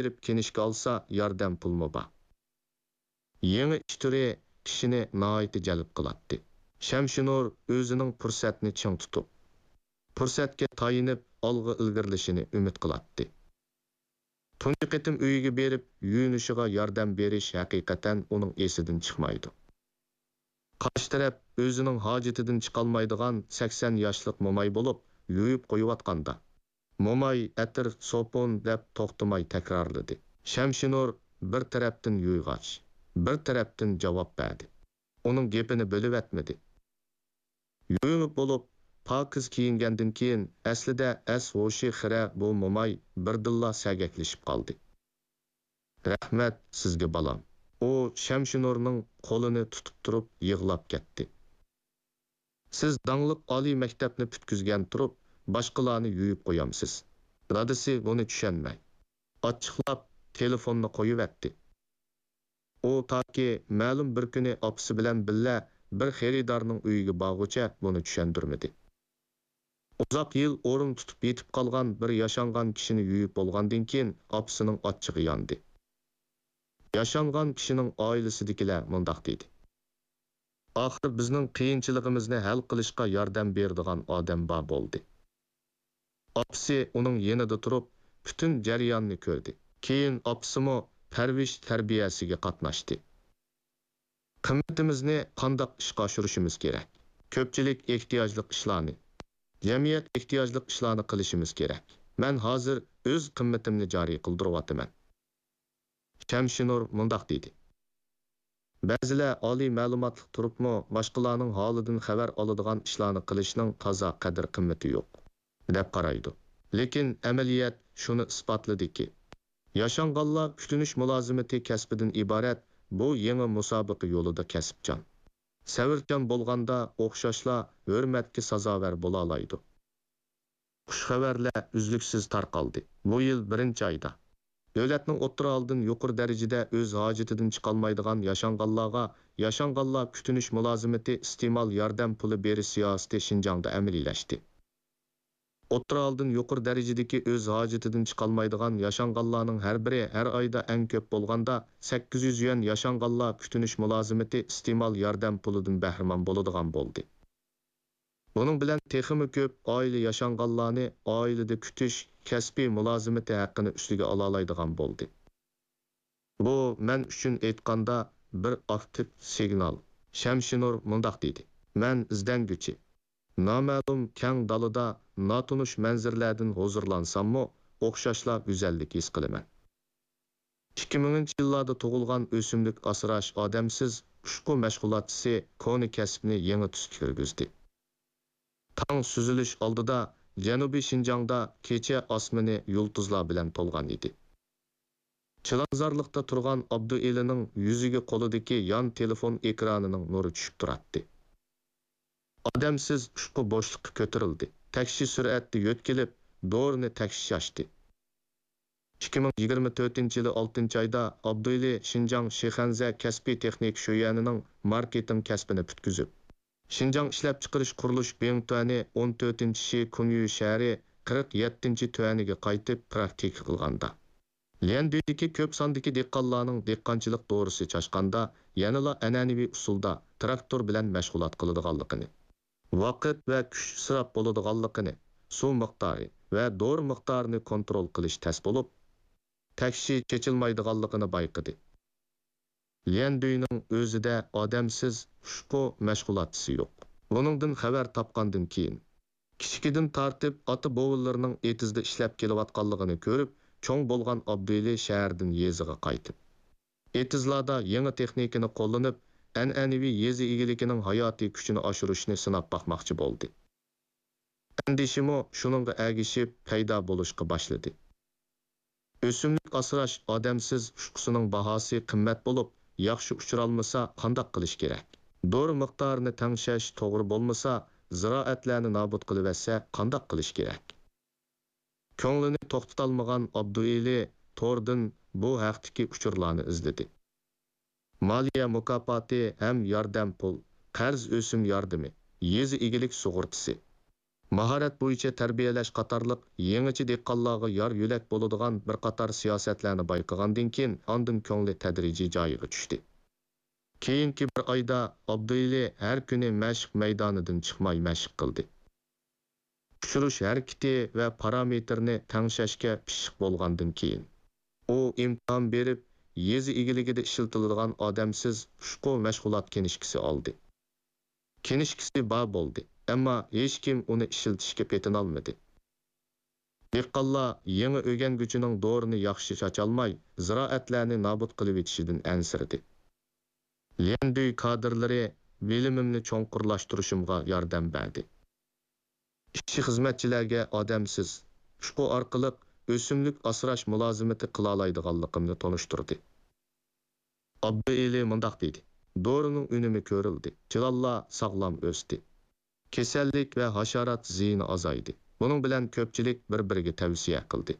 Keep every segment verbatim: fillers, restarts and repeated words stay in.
بېرىپ كىنىشكا ئالسا، ياردەم پۇلمۇ بار. يېڭى ئىش تۈرى كىشىنى ناھايىتى جەلپ قىلاتتى. شەمشىنۇر ئۆزىنىڭ پۇرسەتنى چىڭ تۇتۇپ، پۇرسەتكە تايىنىپ ئالغا ئىلگىرىلىشىنى ئۈمىد قىلاتتى. تۇنجى قېتىم ئۆيىگە بېرىپ يۇيۇنۇشىغا ياردەم بېرىش ھەقىقەتەن ئۇنىڭ ئېسىدىن چىقمايدۇ. قارشى تەرەپ ئۆزىنىڭ ھاجىتىدىن چىقالمايدىغان سەكسەن ياشلىق موماي بولۇپ، يۇيۇپ قويۇۋاتقاندا، موماي «ئەتىر، سوپۇن» دەپ توختىماي تەكرارلىدى. شەمشىنۇر بىر تەرەپتىن يۇيغاچ، بىر تەرەپتىن جاۋاب بەردى. ئۇنىڭ گېپىنى بۆلۈۋەتمىدى. يۇيۇنۇپ بولۇپ، پاكىز كىيىنگەندىن كېيىن، ئەسلىدە ئەس-ھوشى خىرە بۇ موماي بىردىنلا سەگەكلىشىپ قالدى. «رەھمەت سىزگە، بالام.» ئۇ شەمشىنۇرنىڭ قولىنى تۇتۇپ تۇرۇپ يىغلاپ كەتتى. «سىز داڭلىق ئالىي مەكتەپنى پۈتكۈزگەن تۇرۇپ، باشقىلارنى يۇيۇپ قويامسىز؟» دادىسى بۇنى چۈشەنمەي، ئاچچىقلاپ تېلېفوننى قويۇۋەتتى. ئۇ تاكى مەلۇم بىر كۈنى ئاپىسى بىلەن بىللە بىر خېرىدارنىڭ ئۆيىگە بارغۇچە بۇنى چۈشەندۈرمىدى. ئۇزاق يىل ئورۇن تۇتۇپ يېتىپ قالغان بىر ياشانغان كىشىنى يۇيۇپ بولغاندىن كېيىن، ئاپىسىنىڭ ئاچچىقى ياندى. ياشانغان كىشىنىڭ ئائىلىسىدىكىلەر مۇنداق دېدى: «ئاخىر بىزنىڭ قىيىنچىلىقىمىزنى ھەل قىلىشقا ياردەم بېرىدىغان ئادەم بار بولدى.» ئاپىسى ئۇنىڭ يېنىدا تۇرۇپ، پۈتۈن جەرياننى كۆردى. كېيىن ئاپىسىمۇ پەرۋىش تەربىيەسىگە قاتناشتى. قىممىتىمىزنى قانداق ئىشقا ئاشۇرۇشىمىز كېرەك؟ كۆپچىلىك ئېھتىياجلىق ئىشلارنى، جەمئىيەت ئېھتىياجلىق ئىشلارنى قىلىشىمىز كېرەك. مەن ھازىر ئۆز قىممىتىمنى جارى قىلدۇرۇۋاتىمەن. شەمشىنۇر مۇنداق دېدى: بەزىلەر ئالىي مەلۇماتلىق تۇرۇپمۇ، باشقىلارنىڭ ھالىدىن خەۋەر ئالىدىغان ئىشلارنى قىلىشنىڭ تازا قەدىر-قىممىتى يوق، دەپ قارايدۇ. لېكىن ئەمەلىيەت شۇنى ئىسپاتلىدىكى، ياشانغانلار كۈتۈنۈش مۇلازىمىتى كەسپىدىن ئىبارەت بۇ يېڭى مۇسابىقە يولىدا كەسىپچان، سەۋرچان بولغاندا ئوخشاشلا ھۆرمەتكە سازاۋەر بولالايدۇ. خۇش خەۋەرلەر ئۈزلۈكسىز تارقالدى. بۇ يىل بىرىنچى ئايدا، دۆلەتنىڭ ئوتتۇرا ھالدىن يۇقىرى دەرىجىدە ئۆز ھاجىتىدىن چىقالمايدىغان ياشانغانلارغا ياشانغانلار كۈتۈنۈش مۇلازىمىتى ئىستېمال ياردەم پۇلى بېرىش سىياسىتى شىنجاڭدا ئەمەلىيلەشتى. ئوتتۇرا ھالدىن يۇقىرى دەرىجىدىكى ئۆز ھاجىتىدىن چىقالمايدىغان ياشانغانلارنىڭ ھەر بىرى ھەر ئايدا ئەڭ كۆپ بولغاندا سەككىز يۈز يۈەن ياشانغانلار كۈتۈنۈش مۇلازىمىتى ئىستېمال ياردەم پۇلىدىن بەھرىمەن بولىدىغان بولدى. بۇنىڭ بىلەن تېخىمۇ كۆپ ئائىلە ياشانغانلارنى ئائىلىدە كۈتۈش كەسپىي مۇلازىمىتى ھەققىنى ئۈستىگە ئالالايدىغان بولدى. بۇ مەن ئۈچۈن ئېيتقاندا بىر ئاكتىپ سىگنال. شەمشىنۇر مۇنداق دېدى: مەن ئىزدەنگۈچى. نامەلۇم كەڭ دالىدا ناتونۇش مەنزىرىلەردىن ھۇزۇرلانساممۇ، ئوخشاشلا گۈزەللىك ھېس قىلىمەن. ئىككى مىڭىنچى يىللاردا تۇغۇلغان ئۆسۈملۈك ئاسراش ئادەمسىز ئۇچقۇ مەشغۇلاتچىسى كونا كەسىپنى يېڭى تۈسكە كىرگۈزدى. تاڭ سۈزۈلۈش ئالدىدا جەنۇبىي شىنجاڭدا كېچە ئاسمىنى يۇلتۇزلار بىلەن تولغان ئىدى. چىلانزارلىقتا تۇرغان ئابدۇئېلىنىڭ يۈزىگە قولىدىكى يان تېلېفون ئېكرانىنىڭ نۇرى چۈشۈپ تۇراتتى. ئادەمسىز ئۇچقۇ بوشلۇققا كۆتۈرۈلدى. تەكشى سۈرئەتتە يۆتكىلىپ، دورىنى تەكشى چاچتى. ئىككى مىڭ يىگىرمە تۆتىنچى يىلى ئالتىنچى ئايدا ئابدۇئېلى شىنجاڭ شىخەنزە كەسپىي تېخنىكا شۆيۈەنىنىڭ ماركېتىڭ كەسپىنى پۈتكۈزۈپ، شىنجاڭ ئىشلەپچىقىرىش قۇرۇلۇش بىڭتۈەنى ئون تۆتىنچى شى كۇنيۈ شەھىرى قىرىق يەتتىنچى تۈەنىگە قايتىپ پراكتىكا قىلغاندا، ليەندۈيدىكى كۆپ ساندىكى دېھقانلارنىڭ دېھقانچىلىق دورىسى چاچقاندا يەنىلا ئەنئەنىۋى ئۇسۇلدا تىراكتور بىلەن مەشغۇلات قىلىدىغانلىقىنى، ۋاقىت ۋە كۈچ ئىسراپ بولىدىغانلىقىنى، سۇ مىقدارى ۋە دورا مىقدارىنى كونترول قىلىش تەس بولۇپ، تەكشى چېچىلمايدىغانلىقىنى بايقىدى. ليەندۈينىڭ ئۆزىدە ئادەمسىز ئۇچقۇ مەشغۇلاتچىسى يوق. بۇنىڭدىن خەۋەر تاپقاندىن كېيىن، كىچىكىدىن تارتىپ ئاتا-بوۋىلىرىنىڭ ئېتىزدا ئىشلەپ كېلىۋاتقانلىقىنى كۆرۈپ، چوڭ بولغان ئابدۇئېلى شەھەردىن يېزىغا قايتىپ، ئېتىزلاردا يېڭى تېخنىكىنى قوللىنىپ، ئەنئەنىۋى يېزا ئىگىلىكىنىڭ ھاياتىي كۈچىنى ئاشۇرۇشنى سىناپ باقماقچى بولدى. ئەندىشىمۇ شۇنىڭغا ئەگىشىپ پەيدا بولۇشقا باشلىدى. ئۆسۈملۈك ئاسراش ئادەمسىز ئۇچقۇسىنىڭ باھاسى قىممەت بولۇپ، ياخشى ئۇچۇرالمىسا قانداق قىلىش كېرەك؟ دورا مىقدارىنى تەڭشەش توغرا بولمىسا، زىرائەتلەرنى نابۇت قىلىۋەتسە قانداق قىلىش كېرەك؟ كۆڭلىنى توختىتالمىغان ئابدۇئېلى توردىن بۇ ھەقتىكى ئۇچۇرلارنى ئىزدىدى. مالىيە مۇكاپاتى ھەم ياردەم پۇل، قەرز ئۆسۈم ياردىمى، يېزا ئىگىلىك سۇغۇرتىسى، ماھارەت بويىچە تەربىيەلەش قاتارلىق يېڭىچە دېھقانلارغا يار-يۆلەك بولىدىغان بىر قاتار سىياسەتلەرنى بايقىغاندىن كېيىن، ئاندىن كۆڭلى تەدرىجىي جايىغا چۈشتى. كېيىنكى بىر ئايدا ئابدۇئېلى ھەر كۈنى مەشىق مەيدانىدىن چىقماي مەشىق قىلدى. ئۇچۇرۇش ھەرىكىتى ۋە پارامېتىرنى تەڭشەشكە پىششىق بولغاندىن كېيىن، ئۇ ئىمتىھان بېرىپ، يېزا ئىگىلىكىدە ئىشلىتىلىدىغان ئادەمسىز ئۇچقۇ مەشغۇلات كىنىشكىسى ئالدى. كىنىشكىسى بار بولدى، ئەمما ھېچكىم ئۇنى ئىشلىتىشكە پېتىنالمىدى. دېھقانلار يېڭى ئۆگەنگۈچىنىڭ دورىنى ياخشى چاچالماي، زىرائەتلەرنى نابۇت قىلىۋېتىشىدىن ئەنسىرىدى. ليەندۈي كادىرلىرى بىلىمىمنى چوڭقۇرلاشتۇرۇشۇمغا ياردەم بەردى. ئىشچى-خىزمەتچىلەرگە ئادەمسىز ئۇچقۇ ئارقىلىق ئۆسۈملۈك ئاسراش مۇلازىمىتى قىلالايدىغانلىقىمنى تونۇشتۇردى. ئابدۇئېلى مۇنداق دېدى: دورىنىڭ ئۈنۈمى كۆرۈلدى، چىلانلار ساغلام ئۆستى. كېسەللىك ۋە ھاشارات زىيىنى ئازايدى. بۇنىڭ بىلەن كۆپچىلىك بىر-بىرىگە تەۋسىيە قىلدى.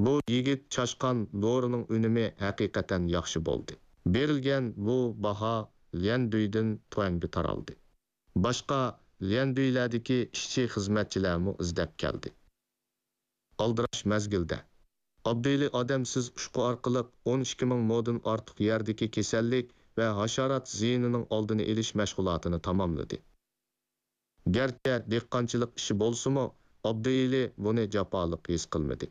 بۇ يىگىت چاشقان دورىنىڭ ئۈنۈمى ھەقىقەتەن ياخشى بولدى. بېرىلگەن بۇ باھا ليەندۈيدىن تۇەنگە تارالدى. باشقا ليەندۈيلەردىكى ئىشچى-خىزمەتچىلەرمۇ ئىزدەپ كەلدى. ئالدىراش مەزگىلدە، ئابدۇئېلى ئادەمسىز ئۇچقۇ ئارقىلىق ئون ئىككى مىڭ مودىن ئارتۇق يەردىكى كېسەللىك ۋە ھاشارات زىيىنىنىڭ ئالدىنى ئېلىش مەشغۇلاتىنى تاماملىدى. گەرچە دېھقانچىلىق ئىشى بولسىمۇ، ئابدۇئېلى بۇنى جاپالىق ھېس قىلمىدى.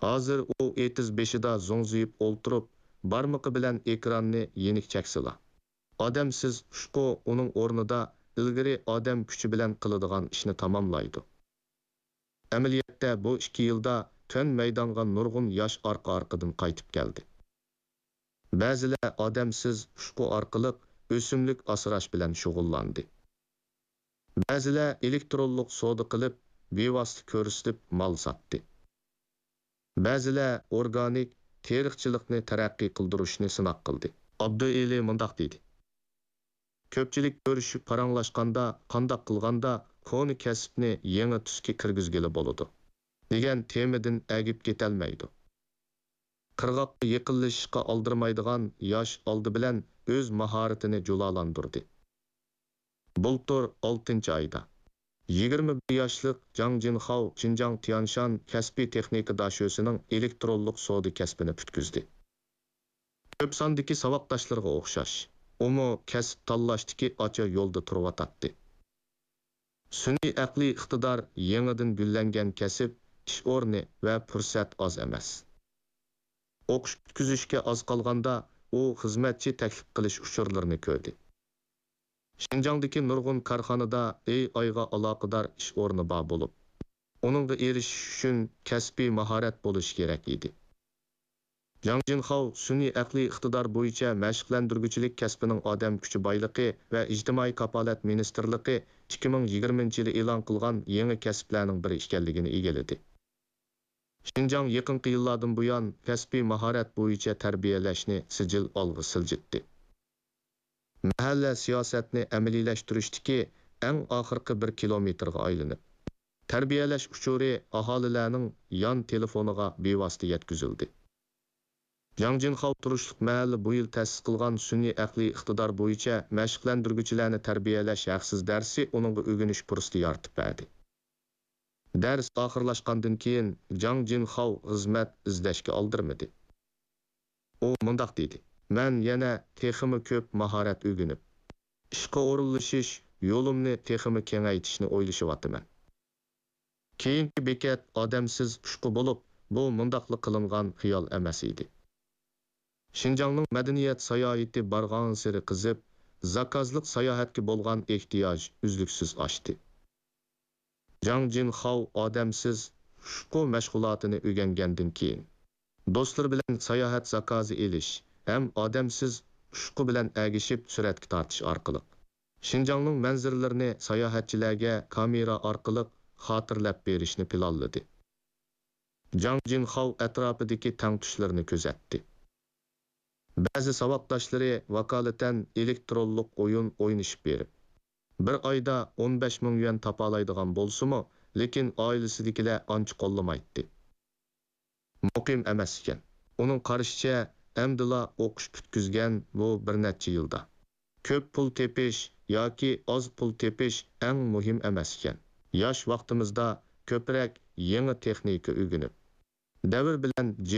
ھازىر ئۇ ئېتىز بېشىدا زوڭزىيىپ ئولتۇرۇپ، بارمىقى بىلەن ئېكراننى يېنىك چەكسىلا، ئادەمسىز ئۇچقۇ ئۇنىڭ ئورنىدا ئىلگىرى ئادەم كۈچى بىلەن قىلىدىغان ئىشنى تاماملايدۇ. ئەمەلىيەتتە بۇ ئىككى يىلدا تۆن مەيدانغا نۇرغۇن ياش ئارقا-ئارقىدىن قايتىپ كەلدى. بەزىلەر ئادەمسىز ئۇچقۇ ئارقىلىق ئۆسۈملۈك ئاسراش بىلەن شۇغۇللاندى. بەزىلەر ئېلېكترونلۇق سودا قىلىپ، بىۋاسىتە كۆرسىتىپ مال ساتتى. بەزىلەر ئورگانىك تېرىقچىلىقنى تەرەققىي قىلدۇرۇشنى سىناق قىلدى. ئابدۇئېلى مۇنداق دېدى: كۆپچىلىك كۆرۈشۈپ پاراڭلاشقاندا، قانداق قىلغاندا كونا كەسىپنى يېڭى تۈسكە كىرگۈزگىلى بولىدۇ، دېگەن تېمىدىن ئەگىپ كېتەلمەيدۇ. قىرغاققا يېقىنلىشىشقا ئالدىرىمايدىغان ياش ئالدى بىلەن ئۆز ماھارىتىنى جۇلالاندۇردى. بۇلتۇر ئالتىنچى ئايدا، يىگىرمە بىر ياشلىق جاڭ جىنخاۋ شىنجاڭ تيانشان كەسپىي تېخنىكا داشۆسىنىڭ ئېلېكترونلۇق سودا كەسپىنى پۈتكۈزدى. كۆپ ساندىكى ساۋاقداشلىرىغا ئوخشاش، ئۇمۇ كەسىپ تاللاشتىكى ئاچا يولدا تۇرۇۋاتاتتى. سۈنئىي ئەقلىي ئىقتىدار يېڭىدىن گۈللەنگەن كەسىپ، ئىش ئورنى ۋە پۇرسەت ئاز ئەمەس. ئوقۇش پۈتكۈزۈشكە ئاز قالغاندا، ئۇ خىزمەتچى تەكلىپ قىلىش ئۇچۇرلىرىنى كۆردى. شىنجاڭدىكى نۇرغۇن كارخانىدا ئېي ئايغا ئالاقىدار ئىش ئورنى بار بولۇپ، ئۇنىڭغا ئېرىشىش ئۈچۈن كەسپىي ماھارەت بولۇشى كېرەك ئىدى. جاڭ جىنخاۋ سۈنئىي ئەقلىي ئىقتىدار بويىچە مەشىقلەندۈرگۈچىلىك كەسپىنىڭ ئادەم كۈچى بايلىقى ۋە ئىجتىمائىي كاپالەت مىنىستىرلىقى ئىككى مىڭ يىگىرمىنچى يىلى ئېلان قىلغان يېڭى كەسىپلەرنىڭ بىرى ئىكەنلىكىنى ئىگىلىدى. شىنجاڭ يېقىنقى يىللاردىن بۇيان كەسپىي ماھارەت بويىچە تەربىيەلەشنى سىجىل ئالغا سىلجىتتى. مەھەللە سىياسەتنى ئەمەلىيلەشتۈرۈشتىكى ئەڭ ئاخىرقى بىر كىلومېتىرغا ئايلىنىپ، تەربىيەلەش ئۇچۇرى ئاھالىلەرنىڭ يان تېلېفونىغا بىۋاسىتە يەتكۈزۈلدى. جاڭ جىنخاۋ تۇرۇشلۇق مەھەللە بۇ يىل تەسىس قىلغان سۈنئىي ئەقلىي ئىقتىدار بويىچە مەشىقلەندۈرگۈچىلەرنى تەربىيەلەش ھەقسىز دەرسى ئۇنىڭغا ئۆگىنىش پۇرسىتى يارىتىپ بەردى. دەرس ئاخىرلاشقاندىن كېيىن، جاڭ جىنخاۋ خىزمەت ئىزدەشكە ئالدىرىمىدى. ئۇ مۇنداق دېدى: مەن يەنە تېخىمۇ كۆپ ماھارەت ئۆگىنىپ، ئىشقا ئورۇنلىشىش يولۇمنى تېخىمۇ كېڭەيتىشنى ئويلىشىۋاتىمەن. كېيىنكى بېكەت ئادەمسىز ئۇچقۇ بولۇپ، بۇ مۇنداقلا قىلىنغان خىيال ئەمەس ئىدى. شىنجاڭنىڭ مەدەنىيەت ساياھىتى بارغانسېرى قىزىپ، زاكازلىق ساياھەتكە بولغان ئېھتىياج ئۈزلۈكسىز ئاشتى. جاڭ جىنخاۋ ئادەمسىز ئۇچقۇ مەشغۇلاتىنى ئۆگەنگەندىن كېيىن، دوستلىرى بىلەن ساياھەت زاكازى ئېلىش ھەم ئادەمسىز ئۇچقۇ بىلەن ئەگىشىپ سۈرەتكە تارتىش ئارقىلىق، شىنجاڭنىڭ مەنزىرىلىرىنى ساياھەتچىلەرگە كامېرا ئارقىلىق خاتىرىلەپ بېرىشنى پىلانلىدى. جاڭ جىنخاۋ ئەتراپىدىكى تەڭتۇشلىرىنى كۆزەتتى. بەزى ساۋاقداشلىرى ۋاكالىتەن ئېلېكترونلۇق ئويۇن ئوينىشىپ بېرىپ، بىر ئايدا ئون بەش مىڭ يۈەن تاپالايدىغان بولسىمۇ، لېكىن ئائىلىسىدىكىلەر ئانچە قوللىمايتتى. مۇقىم ئەمەس ئىكەن. ئۇنىڭ قارىشىچە، ئەمدىلا ئوقۇش پۈتكۈزگەن بۇ بىر نەچچە يىلدا كۆپ پۇل تېپىش ياكى ئاز پۇل تېپىش ئەڭ مۇھىم ئەمەس ئىكەن. ياش ۋاقتىمىزدا كۆپرەك يېڭى تېخنىكا ئۆگىنىپ، دەۋر بىلەن